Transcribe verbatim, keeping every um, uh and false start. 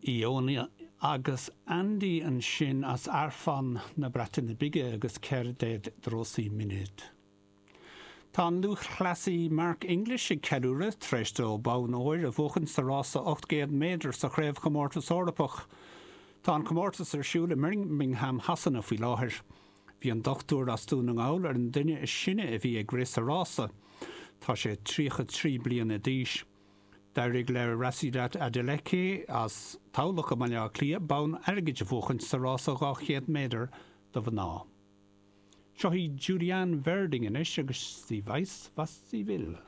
Iona agus Andy ansin as Arfon na Breataine Bige agus Cerdded dros y Munud. Tá an lúthchleasaí Mark English ag ceiliúradh tar éis dó bonn óir a bhuachan sa rása ocht gcéad méadar sa Chraobhchomórtas Eorpach. Tá an comórtas ar siúl i mBirmingham Shasana faoi láthair. Bhí an dochtúir as Dún na nGall ar an duine is sine a bhí ag rith sa rása. Tá sé tríocha trí bliana d'aois. D'éirigh le Rhasidat Adeleke as Tamhlacht i mBaile Átha Cliath bonn airgid a bhuachan sa rása dhá chéad méadar do mhná. Seo í Julianne Verding anois agus Sie weiß, was sie will.